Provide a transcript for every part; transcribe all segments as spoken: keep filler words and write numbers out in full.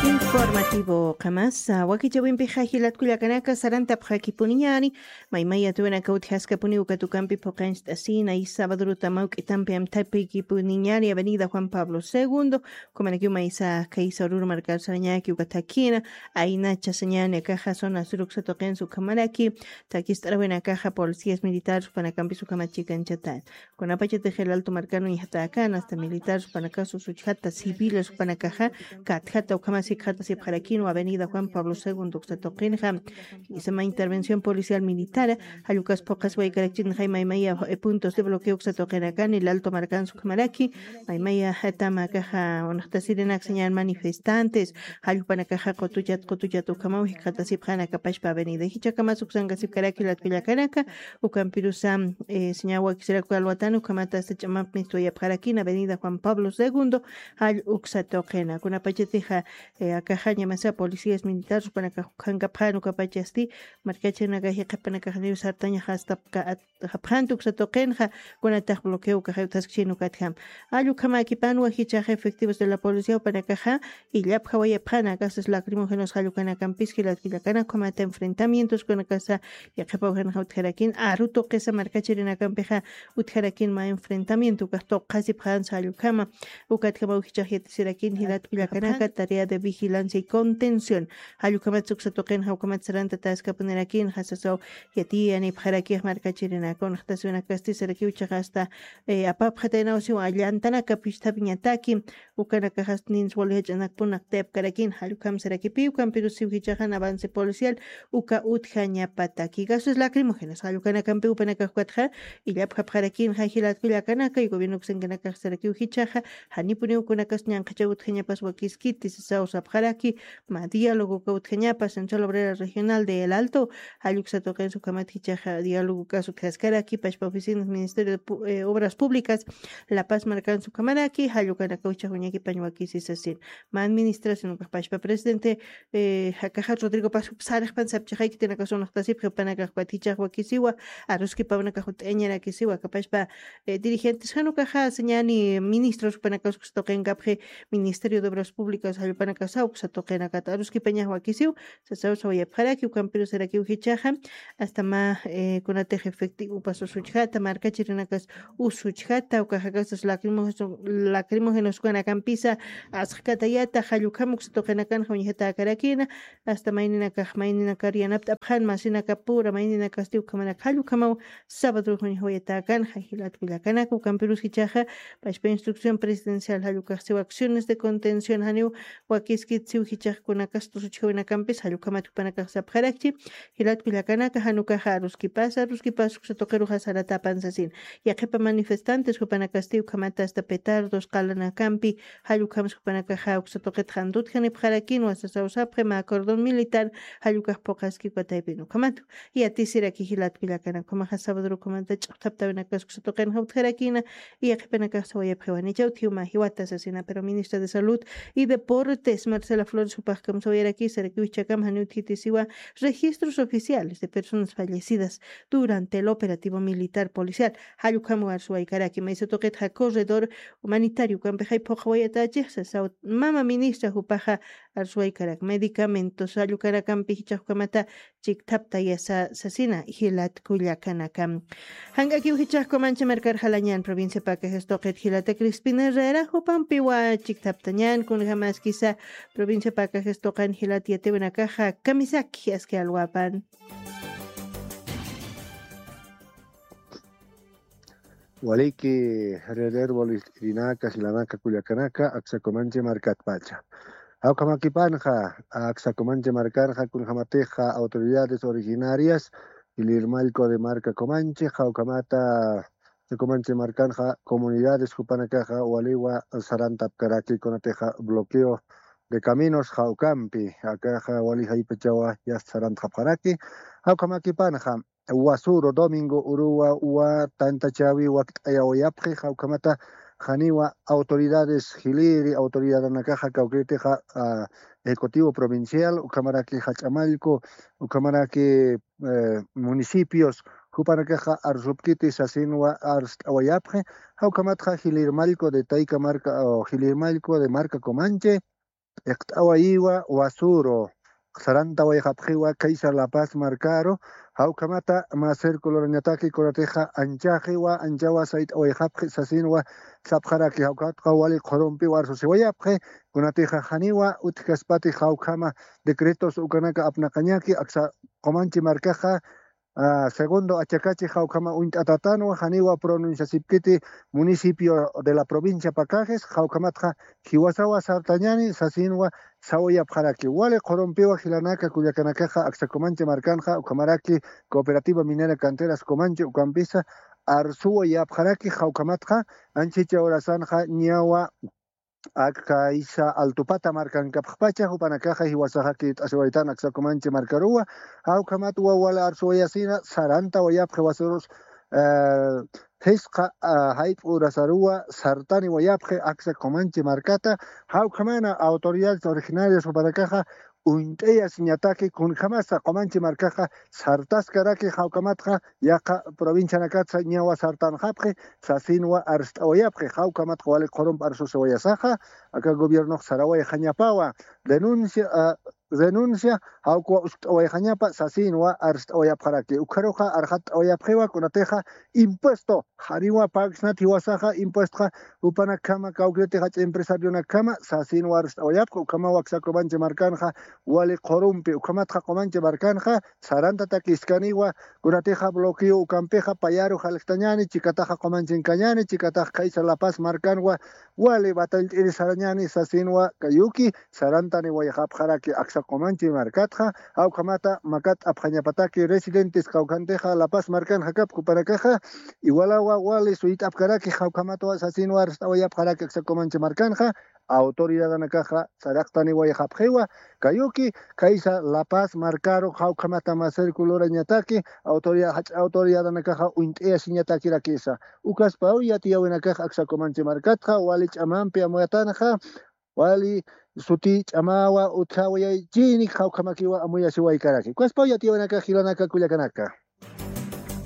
Informativo qamasa wakichawimpixa jilatkullakanaka sarantapxakipuniñani. Maymaya tuwinaka utjaskapuni ukatukampi phuqancht'asina y sabadruta mawk'itampi amthapikipuniñani avenida Juan Pablo segundo. Kumanakiw maysa kaysa ururu markar sarañaki ukatakina aynacha sañani akaxa zona sur uksatuqinsa ukhamaraki takist'arawinakaxa policías militares upanakampis ukhamachikañchatan. Kunapachatix el alto markanu ñaxtakan hasta militares upanakasu suchjata civiles upanakaxa katjata ukhamasi khatasipxarakinwa avenida Juan Pablo segundo uksatuqinxa. Isama intervención policial militara jallukas phuqas waykarakchinxay maymaya puntos de bloqueo uksatuqinakan el alto markansa ukhamaraki maymaya tama akaxa unaxtasirinak sañan manifestantes jallupanakaxa qutuchat qutuchat ukhamaw jikxatasipxanakapashpa avenida jichakamas uksankasipkaraki latkullakanaka. Ukampirusa señawakisiraku alwatani ukhamata asta ch'amap mistwayapxarakina avenida Juan Pablo segundo jall uksatuqina kunapachatixa akaxañamasa policías militares upanakax ukhankapxan ukapachasti markachinakax yaqhipanakaxniw sartañaxa asta japjanti uksatuqinxa kunatax bloqueo ukaxay utjaskchin ukatjam. Allukhamäkipanwa jichaxa efectivos de la policía upanakaxa illapjawayapxana gases lacrimógenos jallukanakampis jilatkullakanak ukhamata enfrentamientos kunakasa yaqhipawjanaxa utjarakin aru tuqisa markachirinakampixa utjarakin mä enfrentamiento ukax tuqasipxansa allukhama. Ukatjamaw jichax yatisirakin jilatkullakanaka tarea de vigilancia y contención jallukhamatsa uksatuqinxa ukhamat sarantataskapunirakinxa sasaw yatiyanipxarakix markachirinaka unaxtasiwinakasti sarakiw ichaxa asta apapxataynawsiw allantanaka pisthapiñataki ukanakaxasti nins wali jach'anakpunaq tayapkarakin jallukhamsarakipiw kampirusiw jichaxan avance policial uka utjañapataki gases lacrimógenos jallukanakampiw upanakaxkatxa illapxapxarakinxa jilatkullakanaka y gobierno uksankanakaxsarakiw jichaxa janipuniw kunakas ñanqhachaw utjañapas wakiskiti sasaw sapxaraki mä diálogo uka utjañapa central obrera regional de el alto jalluksa tuqinsa ukhamat jichaxa diálogo ukas utjaskaraki pachpa oficinas ministerio de obras públicas la paz markansa ukhamaraki jallukanakaw ichax uñakipañ wakisi sasin mä administración ukax pachpa presidente jakaxa rodrigo paz sarixpan sapchaxayki tinakasunaqtasipxi upanakax ukat jichax wakisiwa aruskipawnakax ut'añarakisiwa kapachpa dirigentes jan ukaxa sañani ministros upanakax uksa tuqinkapxi ministerio de obras públicas jallpanakasaw uksa tuqinakat aruskipañax wakisiw sasaw sawayapxaraki ukampirusarakiw jichaxa asta mä kunatix efectivopas usuchjata markachirinakas usuchjata ukaxakasas lacrimógenos ukanakampisa asqkatayata jallukam uksa tuqinakanxa uñjatakarakina asta mayninakax mayninakar yanapt'apxan masinakapura mayninakasti ukhamanak jallukamaw sabadruxuñjawayatakanxa jilatkullakanaka ukampirus jichaxa pachpa instrucción presidencial jallukaxsiw acciones de contención janiw wakiskitsiw jichaxkunakasta usuchjawinakampis jallukhamat jupanakax sapxarakchi jilatkullakanaka janukaxa aruskipasa aruskipasa uksa tuqiruxa saratapan sasin yaqhipa manifestantes jupanakasti ukhamata asta petardos qalanakampi jallukhamsa jupanakaxa uksa tuqit jantut janipxarakinwa sasaw sapxi mä cordón militar jallukax phuqaski ukataypin ukhamatu yatisiraki jilatkullakanaka ukhamaxa sabadrukhumanta ch'uqthaptawinakas uksa tuqinxa utjarakina yaqhipanakax sawayapxiwanichaw thiwma jiwata sasina pero ministra de salud y deportes marcela flores jupaxkam sawayarakisarakiw jichakam janiw thitisiwa registros oficiales de personas fallecidas durante el operativo militar policial jallukhamwa arsuwaykaraki maysa tuqitxa corredor humanitario ukampixay phuqhawayatachixsa saw mama ministra jupaxa arsuwaykarak medicamentos jallukanakampi jichaxkamata chikthaptayasa sasina jilatkullakanaka jank'akiw jichaxkumancha markar jalañan provincia pakajes tuqit jilata crispin herrera jupampiwa chikthaptañan kunjamaskisa provincia pakajes tuqan jilat yatiwinakaxa kamisaki aski alwapan Waliki herererwa list'irinaka jilanaka kullakanaka aksakumanchi markatpacha jawkhamakipanxa aksakumanchi markanxa kunjamatixa autoridades originarias jilirmallku de marka kumanchi jawkhamata aksakumanchi markanxa comunidades jupanakaxa waliwa sarantapkaraki kunatixa bloqueo de caminos jawkampi akaxa wali jaypachawa yasta sarantxapxaraki jawkhamakipanxa wasuru domingo uruwa uwa tantachawi wakt'ayawayapxi jawkhamata janiwa autoridades jiliri autoridadanakaxa kawkiritixa ejecutivo provincial ukhamaraki jach'amallku ukhamaraki municipios jupanakaxa arsupkiti sasinwa arst'awayapxi jawkhamatxa jilirmallku de tayka marka jilirmallku de marka comanche iqt'awayiwa wasuru, sarantawayxapxiwa kaysa La Paz markaru, jawkhamata mä círculorañataki kunatixa anchaxiwa, anchawa sayt'awayxapxi sasinwa sapxaraki, jawkhatxa wali qhurumpiwa arsusiwayapxi, kunatixa janiwa utjkaspati jawkhama decretos ukanaka apnaqañaki, aksa Comanche markaxa, ah, segundo achakachi jawkhama uñt'atatanwa, janiwa pronunciasipkiti municipio de la provincia Pacajes, jawkhamatxa jiwasawa sartañani sasinwa sawayapxaraki. Wali qhurumpiwa jilanaka kullakanakaxa, aksa Comanche markanxa, ukhamaraki Cooperativa Minera Canteras Comanche ukampisa arsuwayapxaraki, jawkhamatxa anchicha horasanxa ñawa aka isa Altupata markankapxpacha, jupanakaxa jiwasaxa kit'asiwaytan aksa Comanche markaruwa, jawkhamatwa wali arsuwayasina, sarantawayapxi wasurus, eh, jisqa, ah, jayp'u urasaruwa sartaniwayapxi aksa Comanche markata, jawkhamana autoridades originarias jupanakaxa uñt'ayasiñataki, kunjamasa Comanche markaxa sartaskaraki, jawkhamatxa yaqha provincianakatsa ñawa sartanxapxi sasinwa arst'awayapxi, jawkhamatxa wali qhurump arsusiwayasaxa, aka gobiernox sarawayxañapawa, denuncia, ah, renuncia, jawkwa uskt'awayxañapa sasinwa arst'awayapxaraki. Ukharuxa arxatt'awayapxiwa kunatixa impuesto, janiwa pagsnat jiwasaxa impuestxa, jupanakhama kawkiriti jach'a empresarionakama sasinwa arst'awayapxi, ukhamawa aksa Comanche markanxa wali qhurumpi, ukhamatxa Comanche markanxa sarantatakiskaniwa, kunatixa bloqueo ukampixa payaru jalktañani, chikataxa Comanchenkañani, chikataxa kaysa La Paz markanwa wali batallt'iri sarañani sasinwa kayuki, sarantaniwayxapxaraki aksa Comanche markatxa, jawkhamata makat'apxañapataki residentes kawkhantixa La Paz markanxa kap jupanakaxa, iwalawa wali suyt'apkaraki, jawkhamatwa sasinwa arst'awayapxaraki aksa Comanche markanxa, autoridadanakaxa saraqtaniwayxapxiwa, kayuki, kaysa La Paz markaru, jawkhamata mä círculorañataki, autoridad, jach'a autoridadanakaxa uñt'ayasiñatakirakisa. Ukaspaw yatiyawinakax aksa Comanche markatxa, wali ch'amampi amuyatanxa, wali suti ch'amawa utjawayaychinik, jawkhamakiwa amuyasiwaykaraki. Ukaspaw yatiyawinakax jilanaka kullakanaka.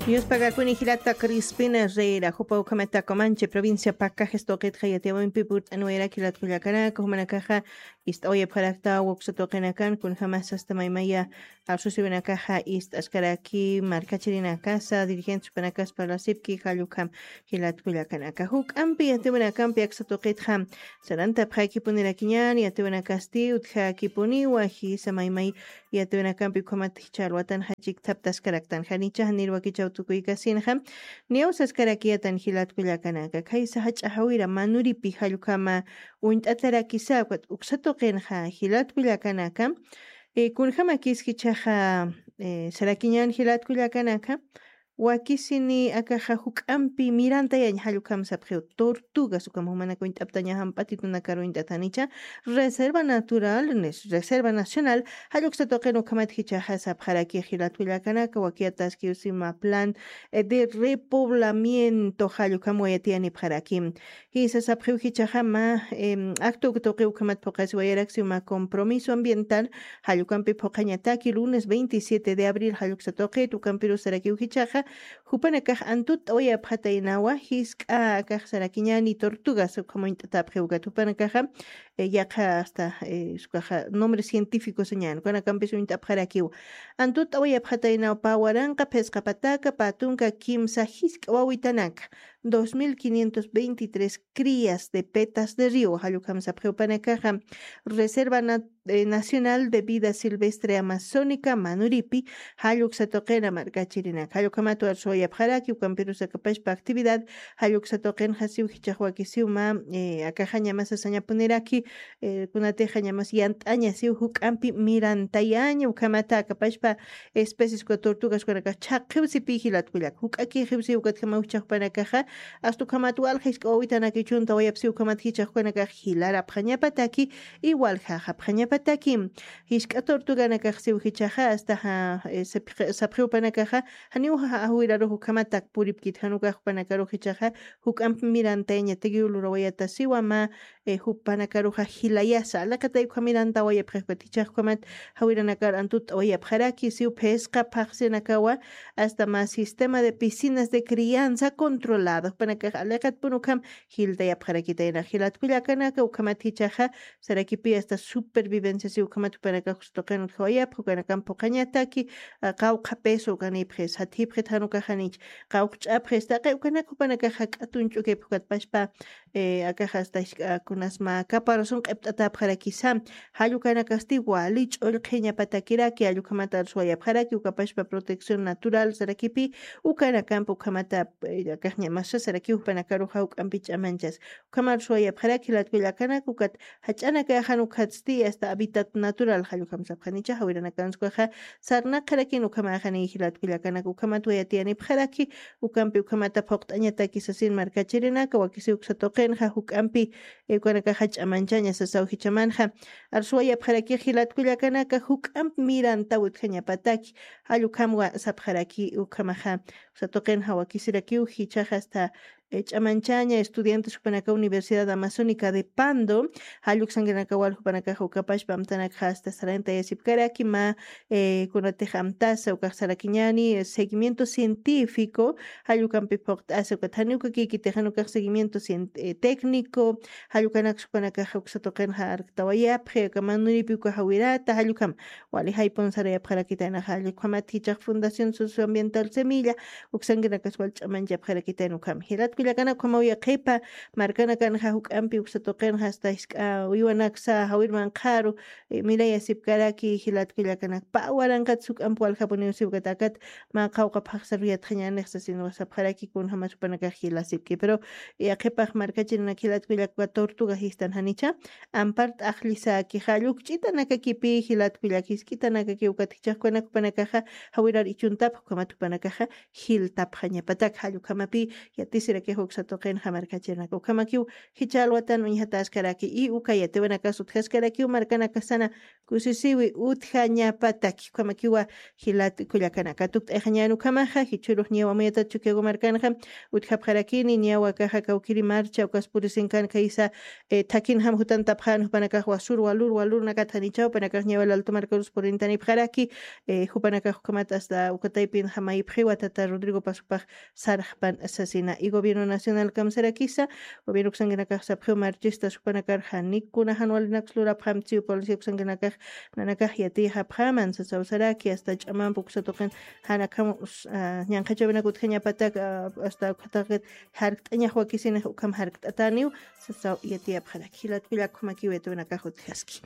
Yuspagakuni jilata Crispina Herrera, jupa ukhamata Comanche, provincia Pacajes tuqitxa yatiyawimpi purt'aniwayarak jilat kullakanaka, jumanakaxa ist'awayapxarakta uksa tuqinakan, kunjamas asta maymaya arsusiwinakaxa ist'askaraki markachirinakasa, dirigentes jupanakasa parlasipki, jall ukham jilat kullakanaka. Juk'ampi yatiyawinakampi aksa tuqitxa sarantapxakipunirakiñan, yatiyawinakasti utjakipuniwa, jisa maymay yatiyawinakampi ukhamat jichha alwatan jachikthaptaskaraktan, janicha janir wakichaw tukuykasinxa, niyaw saskarakiyatan jilat kullakanaka, khaysa jach'a jawira Manuripi jall ukhama uñt'atarakisa, ukat uksa tuqinxa jilat kullakanaka, eh, kunjamakis jichhaxa, eh, sarakiñan jilat kullakanaka, wakisini akaxa juk'ampi mirantayañ jall ukham sapxiw, tortugas ukham jumanak uñt'aptaña jamp'atitunakar uñt'atanicha, reserva natural, nes-, reserva nacional, jall uksa tuqin ukhamat jichhaxa sapxaraki jilat kullakanaka, wakiyataskiw sima plan, eh, de repoblamiento jall ukham wayatiyanipxaraki. Jisa sapxiw jichhaxa mä, em, acto tuqi ukhamat phuqasiwayarak sima compromiso ambiental, jall ukampi phuqañataki lunes veintisiete de abril jall uksa tuqit, ukampirus sarakiw jichhaxa, jupanakax antut t'awayapxataynawa, jisk'a akax sarakiñani tortugas ukham uñt'atapxiw ukat jupanakaxa, eh, yaqha asta, eh, ukaxa nombre científico sañan, ukanakampis uñt'apxarakiw. Antut t'awayapxataynaw pä waranqa, phisqa pataka, pä tunka, kimsa, jisk'a wawitanaka, dos mil quinientos veintitrés crías de petas de río, jall ukham sapxiw jupanakaxa, Reserva Na-, eh, Nacional de Vida Silvestre Amazónica, Manuripi, jall uksa tuqina markachirinaka. Jall ukhamat arsuwayapxaraki, ukampirus akapachpa actividad, jall uksa tuqinxa siw jichhax wakisiw mä, eh, akaxa ñamas sasañapuniraki, eh, kunatixa ñamas yant'aña siw juk'ampi mirantayaña, ukhamata akapachpa especies uka tortugas ukanakax chhaqxiw sipi jilat kullak. Juk'akixiw siw ukatjamaw jichhax jupanakaxa, asta ukhamat walja jisk'a wawitanakichun tawayapsiw ukhamat jichhax jupanakax jilarapxañapataki, igual jajapxañapataki. Jisk'a tortuganakax siw jichhaxa, asta ja, eh, sapxi-, sapxiw jupanakaxa, janiw ja, jawirarux ukhamatak puripkit, jan ukax jupanakarux jichhaxa, juk'amp mirantayañatakiw lurawayata siwa mä, eh, jupanakaruxa jilayasa, alaqatay ukhamirantawayapxi, jichhax ukhamat jawiranakar antut t'awayapxaraki, siw phisqa phaxsinakawa, asta mä sistema de piscinas de crianza controlada. Jupanakax aliqatpun ukham jiltayapxarakitayna jilat kullakanaka, ukhamat jichhaxa sarakipi hasta supervivencia si ukhamat jupanakax uksa tuqin utjawayapxa, ukanakamp phuqhañataki, a, qawqha peso ukanipxis, jathipxit jan ukaxanich, qawqch'apxis, taqi ukanak jupanakax jak'at uñch'ukipx ukat pachpa, e, akax hasta jisk'a kunasma caparazón q'ipt'atapxarakisa, jall ukanakasti wali ch'ullqhiñapatakiraki, jall ukhamat arsuwayapxaraki, uka pachpa protección natural sarakipi, ukanakamp ukhamata, e, akax ñamasa saraki jupanakaruxa juk'ampi ch'amanchas. Ukhamar suwayapxaraki jilat kullakanaka, ukat jach'anakaxan ukhatsti hasta hábitat natural, jall ukham sapxanicha, jawiranakanskaxa sarnaqxarakin ukhamaxani jilat kullakanaka, ukhamat wayatiyanipxaraki, ukampi ukhamata phuqt'añataki sasin markachirinaka, wakisi uksa tuqinxa juk'ampi, e, ukanakaxa ch'amanchaña sasaw jichhamanxa. Arsuwayapxaraki jilat kullakanaka, juk'amp mirantaw utjañapataki, jall ukhamwa sapxaraki ukhamaxa, uksa tuqinxa wakisirakiw jichhaxa hasta e, ch'amanchaña estudiantes jupanaka Universidad Amazónica de Pando, jall uksankirinaka wal jupanakaxa uka pachpa amtanakxa hasta sarantayasipkaraki mä, e, kunatix amtasa ukax sarakiñäni, e, seguimiento científico, jall ukampi phuqt'asa ukat janiw ukakïkitix jan ukax seguimiento cien-, e, técnico, jall ukanaks jupanakaxa uksa tuqinxa arktawayapxi, uka manuripi uka jawirata, jall ukham wali jaypun sarayapxarakitayna, jall ukhamat jichhax Fundación Socioambiental Semilla, uksankinakas wal ch'amanchapxarakitayna ukham. Jilat kullakanaka, ukhamaw yaqhipa markanakanxa juk'ampi uksa tuqinxa hasta jisk'a uywanaksa jawir manqharu, e, mirayasipkaraki jilat kullakanak. Pä waranqat juk'amp waljapuniw siw ukat akat mä qawqha phaxsar yatxañänix sasin sapxaraki kunjamas jupanakax jilasipki. Pero yaqhipax markachirinak jilat kullaka tortuga jistan janicha, ampar t'aqllisaki, jall ukch'itanakakipi jilat kullaka, jisk'itanakaki ukat jichhax ukanak jupanakaxa jawirar ichuntapxi, ukhamat jupanakaxa jiltapxañapatak, jall ukhamapi yatisirakix uksa tuqinxa markachirinaka. Ukhamakiw jichha alwatan uñjataskaraki, y uka yatiwinakas utjaskarakiw markanakasana kusisiwi utjañapataki, ukhamakiwa jilat kullakanaka. Tukt'ayxañän ukhamaxa, jichhürux niyaw amuyatata Chukiyawu markanxa utjapxarakini, niyaw akaxa kawkïri marcha ukas purisinkan khaysa, e, thakinjam jutantapxän jupanakax wasur walur walurnakat janichaw, jupanakax niyaw Alto markarus purintanipxaraki, e, jupanakax ukhamat hasta uka taypinxa mayipxiwa tata Rodrigo Pazopax sarxpan sasina. Y gobierno nacional kamsarakisa, gobierno uksankinakax sapxiw marchistas jupanakar janiw kuna jan walinaks lurapxamtsi, policía uksankinakax nanakax yatiyxapxaman sasaw saraki, hasta ch'amamp uksa tuqin jan akham, ah, ñanqhachäwinak utjañapatak, ah, hasta ukhataqit jarkt'añax wakisinix ukham jarkt'atäniw sasaw yatiyapxaraki. Jilat kullaka, ukhamakiw yatiwinakax utjaski.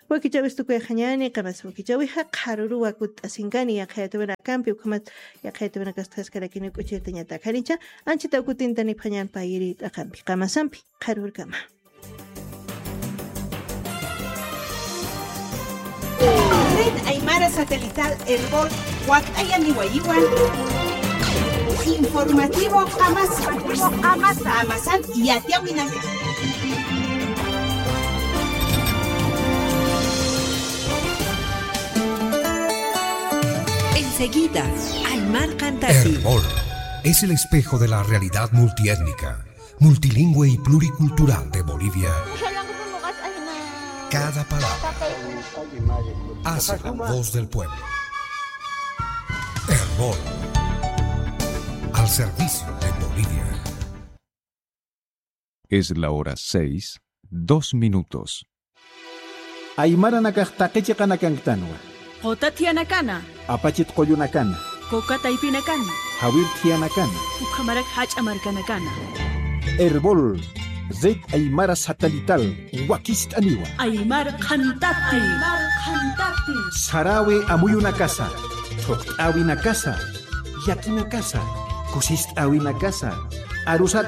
Wakichäwis tukuyxañäni, qamasa wakichäwixa qharüruw kutt'asinkani yaqha yatiwinakampi, ukhamat yaqha yatiwinakas utjaskarakiniw k'uchirtañatak. Janicha, anchhitaw kutintanipxañän payïri t'aqampi, qamasampi, qharürkama. Red Aymara Satelital Erbol wakt'ayaniwayiwa. Informativo Qamasa. Qamasan yatiyäwinaka. Enseguida, Aymar Qantati. Erbol es el espejo de la realidad multiétnica, multilingüe y pluricultural de Bolivia. Cada palabra hace la voz del pueblo. Erbol, al servicio de Bolivia. Es la hora seis, dos minutos. Aymaranakax taqi chiqanakanktänwa. Quta thiyanakana. Apachit qullunakana. Kuka taypinakana. Jawir thiyanakana. Ukhamarak jach'a markanakana. Erbol, Red Aymara Satelital, wakist'aniwa. Aymar Qhantati. Sarawi amuyunakasa, thuqt'äwinakasa, llakinakasa, kusist'äwinakasa, arusat